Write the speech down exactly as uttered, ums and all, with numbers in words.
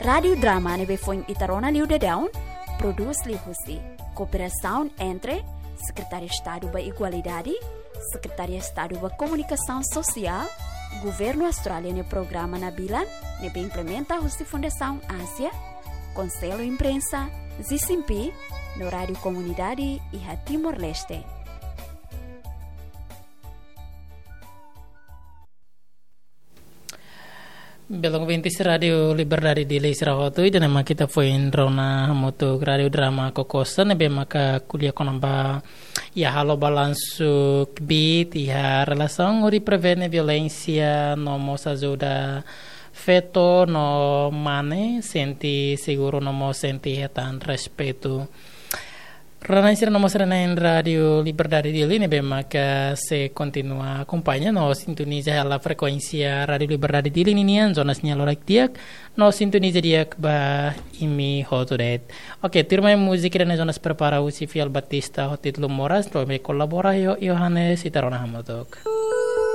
Rádiu Drama ne'ebé foin ita rona liu daudaun, prodús liuhusi kooperasaun entre Sekretáriu Estadu ba Igualdade, Sekretáriu Estadu ba Komunikasaun Sosiál, Governu Austrália nia programa Nabilan, ne'ebé implementa husi Fundasaun Ázia, Konsellu Imprensa, Zisimpi, no Rádiu Komunidade iha Timor-Leste. Belun ouvintes Rádiu Liberdade Dili sira hotu, ida-ne'e mak ita foin rona hamutuk Rádiu Drama Kokosa, ne'ebé maka ko'alia kona-ba iha halo balansu kbiit iha relasaun hodi prevene violénsia no mós ajuda feto no mane sente seguru no mós sente hetan respeitu. Rona sira no mós rona iha Rádiu Liberdade Dili ne'ebé maka sei kontinua akompaña no sintoniza hela frekuénsia Rádiu Liberdade Dili ninian, zona sinál loraik di'ak, no sintoniza di'ak ba imi hotu de'it. Oke, tuirmai múzika ida-ne'e zona prepara husi Fiel Batista ho títulu Moras, no imi kolabora ho Yohanes, ita rona hamutuk.